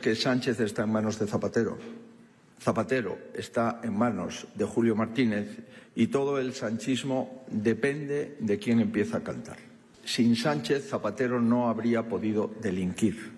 Que Sánchez está en manos de Zapatero. Zapatero está en manos de Julio Martínez y todo el sanchismo depende de quién empieza a cantar. Sin Sánchez, Zapatero no habría podido delinquir.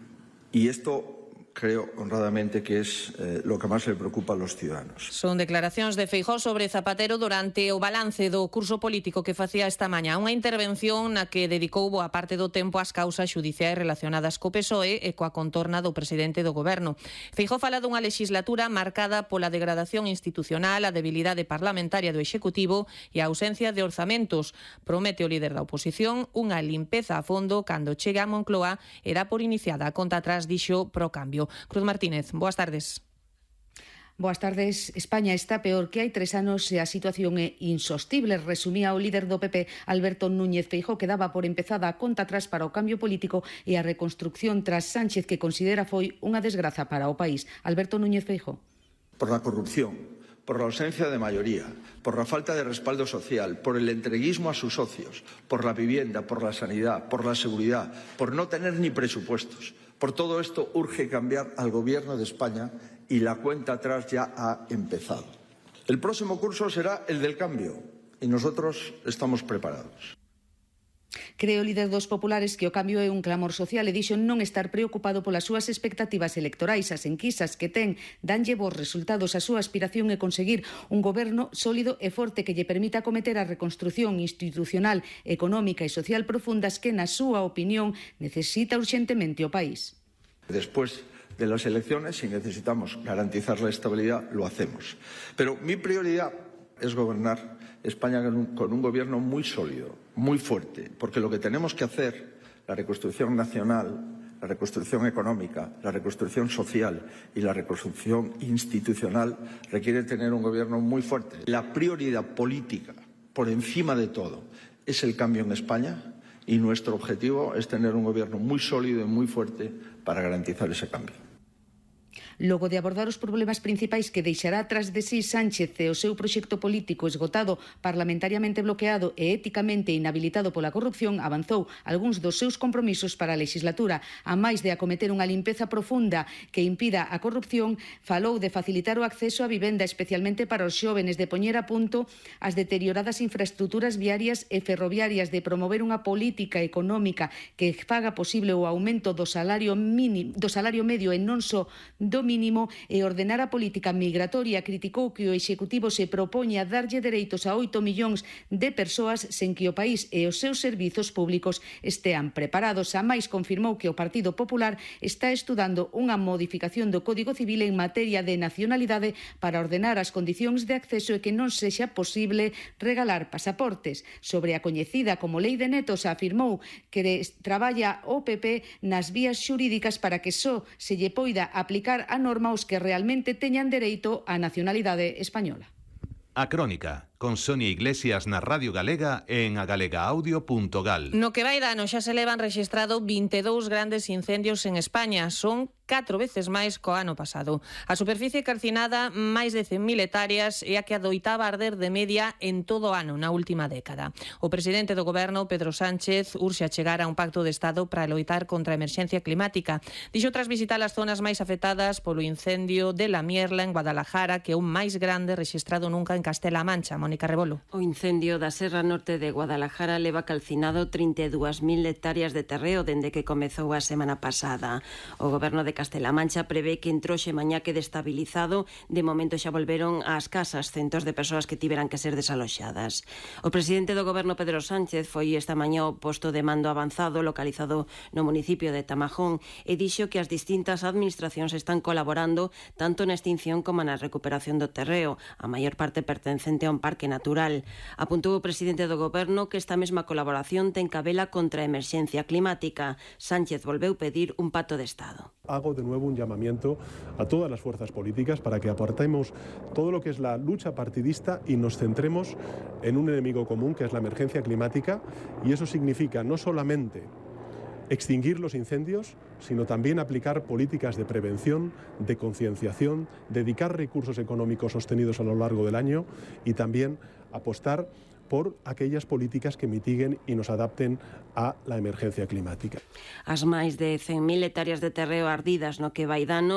Y esto creo honradamente que es lo que máis le preocupa a los ciudadanos. Son declaracións de Feijóo sobre Zapatero durante o balance do curso político que facía esta mañá. Unha intervención na que dedicou boa parte do tempo ás causas xudiciais relacionadas co PSOE e coa contorna do presidente do goberno. Feijóo fala dunha legislatura marcada pola degradación institucional, a debilidade parlamentaria do Executivo e a ausencia de orzamentos. Promete o líder da oposición unha limpeza a fondo cando chegue a Moncloa e dá por iniciada a conta atrás, dixo Pro Cambio. Cruz Martínez, boas tardes. Boas tardes. España está peor que hai 3 anos e a situación é insostible, resumía o líder do PP, Alberto Núñez Feijóo, que daba por empezada a conta atrás para o cambio político e a reconstrucción tras Sánchez, que considera foi unha desgraza para o país. Alberto Núñez Feijóo. Por la corrupción, por la ausencia de mayoría, por la falta de respaldo social, por el entreguismo a sus socios, por la vivienda, por la sanidad, por la seguridad, por no tener ni presupuestos. Por todo esto urge cambiar al Gobierno de España y la cuenta atrás ya ha empezado. El próximo curso será el del cambio y nosotros estamos preparados. Creo o líder dos populares que o cambio é un clamor social e dixo non estar preocupado polas súas expectativas electorais. As enquisas que ten danlle bons resultados. A súa aspiración é conseguir un goberno sólido e forte que lle permita acometer a reconstrución institucional, económica e social profundas que, na súa opinión, necesita urxentemente o país. Después de las elecciones, si necesitamos garantizar la estabilidad, lo hacemos. Pero mi prioridad es gobernar España con un gobierno muy sólido, muy fuerte, porque lo que tenemos que hacer, la reconstrucción nacional, la reconstrucción económica, la reconstrucción social y la reconstrucción institucional, requiere tener un gobierno muy fuerte. La prioridad política, por encima de todo, es el cambio en España y nuestro objetivo es tener un gobierno muy sólido y muy fuerte para garantizar ese cambio. Logo de abordar os problemas principais que deixará tras de sí Sánchez e o seu proxecto político esgotado, parlamentariamente bloqueado e éticamente inhabilitado pola corrupción, avanzou algúns dos seus compromisos para a legislatura. A máis de acometer unha limpeza profunda que impida a corrupción, falou de facilitar o acceso á vivenda, especialmente para os xóvenes, de poñer a punto as deterioradas infraestructuras viarias e ferroviarias, de promover unha política económica que faga posible o aumento do salario medio e non só do mínimo, e ordenar a política migratoria. Criticou que o Executivo se propoña darlle dereitos a 8 millóns de persoas sen que o país e os seus servizos públicos estean preparados. A máis, confirmou que o Partido Popular está estudando unha modificación do Código Civil en materia de nacionalidade para ordenar as condicións de acceso e que non sexa posible regalar pasaportes. Sobre a coñecida como Lei de Netos, afirmou que traballa o PP nas vías xurídicas para que só se lle poida aplicar a norma os que realmente teñan dereito á nacionalidade española. A Crónica, con Sonia Iglesias na Radio Galega e en agalegaaudio.gal. No que vai de ano xa se levan rexistrado 22 grandes incendios en España. Son 4 veces máis co ano pasado. A superficie calcinada, máis de 100.000 hectáreas, é a que adoitaba arder de media en todo o ano na última década. O presidente do goberno, Pedro Sánchez, urxe a chegar a un pacto de Estado para loitar contra a emerxencia climática. Dixo tras visitar as zonas máis afectadas polo incendio de La Mierla en Guadalajara, que é o máis grande rexistrado nunca en Castela-A Mancha. Mónica Rebolo. O incendio da Serra Norte de Guadalajara leva calcinado 32.000 hectáreas de terreo dende que comezou a semana pasada. O goberno de Castela-A Mancha prevé que entroxe mañá quede estabilizado. De momento xa volveron ás casas centos de persoas que tiveran que ser desaloxadas. O presidente do goberno, Pedro Sánchez, foi esta mañá ao posto de mando avanzado localizado no municipio de Tamajón e dixo que as distintas administracións están colaborando tanto na extinción como na recuperación do terreo, a maior parte pertencente a un parque natural. Apuntou o presidente do goberno que esta mesma colaboración ten cabela contra a emerxencia climática. Sánchez volveu pedir un pacto de Estado. Hago de nuevo un llamamiento a todas las fuerzas políticas para que aportemos todo lo que es la lucha partidista y nos centremos en un enemigo común, que es la emergencia climática, y eso significa no solamente extinguir los incendios, sino también aplicar políticas de prevención, de concienciación, dedicar recursos económicos sostenidos a lo largo del año y también apostar por aquellas políticas que mitiguen y nos adapten a la emergencia climática. As máis de 100.000 hectáreas de terreo ardidas no que vai dano